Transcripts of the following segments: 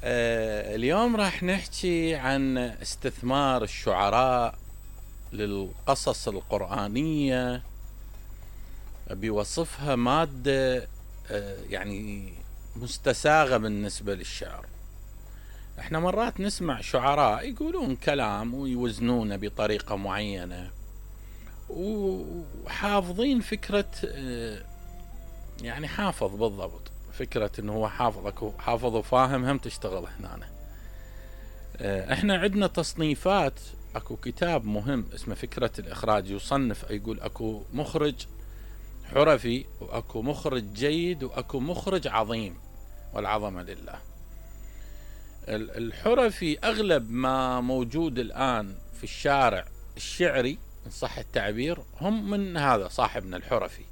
اليوم راح نحكي عن استثمار الشعراء للقصص القرآنية بوصفها مادة يعني مستساغة بالنسبة للشعر. احنا مرات نسمع شعراء يقولون كلام ويوزنونه بطريقة معينة وحافظين فكرة، يعني حافظ بالضبط فكرة انه هو حافظ وفاهم هم تشتغل هنا. احنا عندنا تصنيفات، اكو كتاب مهم اسمه فكرة الاخراج، يصنف يقول اكو مخرج حرفي واكو مخرج جيد واكو مخرج عظيم، والعظمة لله. الحرفي اغلب ما موجود الان في الشارع الشعري ان صح التعبير هم من هذا صاحبنا الحرفي.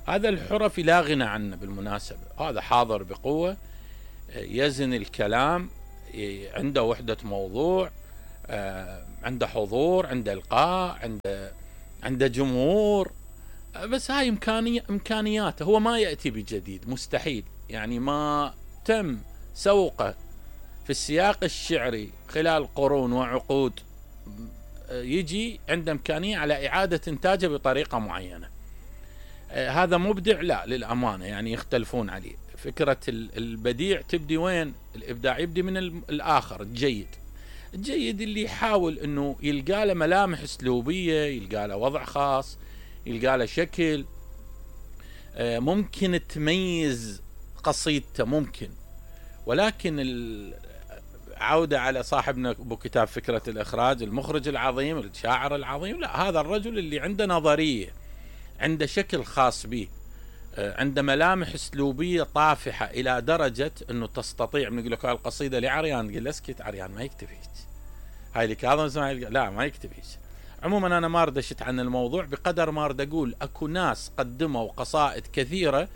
هذا الحرفي لا غنى عنه بالمناسبة، هذا حاضر بقوة، يزن الكلام، عنده وحدة موضوع، عنده حضور، عنده إلقاء، عنده جمهور. بس هاي إمكانياته، هو ما يأتي بجديد، مستحيل، يعني ما تم سوقه في السياق الشعري خلال قرون وعقود يجي عنده إمكانية على إعادة إنتاجه بطريقة معينة. هذا مبدع؟ لا، للأمانة يعني يختلفون عليه. فكرة البديع تبدي وين؟ الإبداع يبدي من الآخر الجيد اللي يحاول أنه يلقى له ملامح أسلوبية، يلقى له وضع خاص، يلقى له شكل ممكن تميز قصيدته ممكن. ولكن عودة على صاحبنا بكتاب فكرة الإخراج، المخرج العظيم، الشاعر العظيم، لا، هذا الرجل اللي عنده نظرية، عنده شكل خاص به، عنده ملامح اسلوبيه طافحه الى درجه انه تستطيع من يقول لك القصيده لعريان، تقول له اسكت، عريان ما يكتب هيك، هاي لكاظم اسماعيل لا ما يكتب هيك. عموما انا ما ردشت عن الموضوع بقدر ما اريد اقول اكو ناس قدموا قصائد كثيره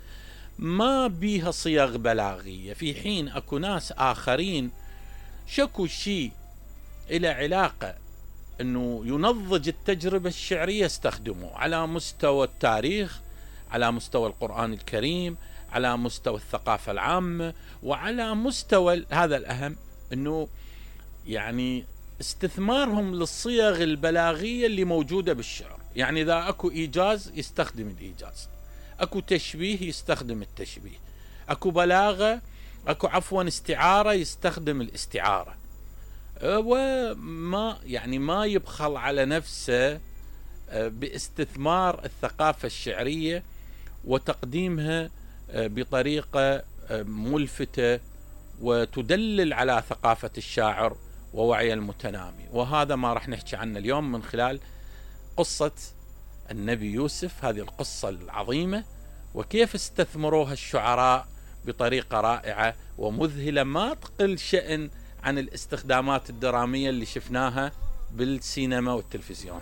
ما بيها صيغ بلاغيه، في حين اكو ناس اخرين شكوا شيء الى علاقه انه ينضج التجربة الشعرية استخدموه على مستوى التاريخ، على مستوى القرآن الكريم، على مستوى الثقافة العامة، وعلى مستوى هذا الأهم انه يعني استثمارهم للصيغ البلاغية اللي موجودة بالشعر. يعني اذا اكو ايجاز يستخدم الايجاز، اكو تشبيه يستخدم التشبيه، اكو بلاغة، اكو عفوا استعارة يستخدم الاستعارة، وما يعني ما يبخل على نفسه باستثمار الثقافة الشعرية وتقديمها بطريقة ملفتة وتدلل على ثقافة الشاعر ووعي المتنامي. وهذا ما راح نحكي عنه اليوم من خلال قصة النبي يوسف، هذه القصة العظيمة، وكيف استثمروها الشعراء بطريقة رائعة ومذهلة ما تقل شأن عن الاستخدامات الدرامية اللي شفناها بالسينما والتلفزيون.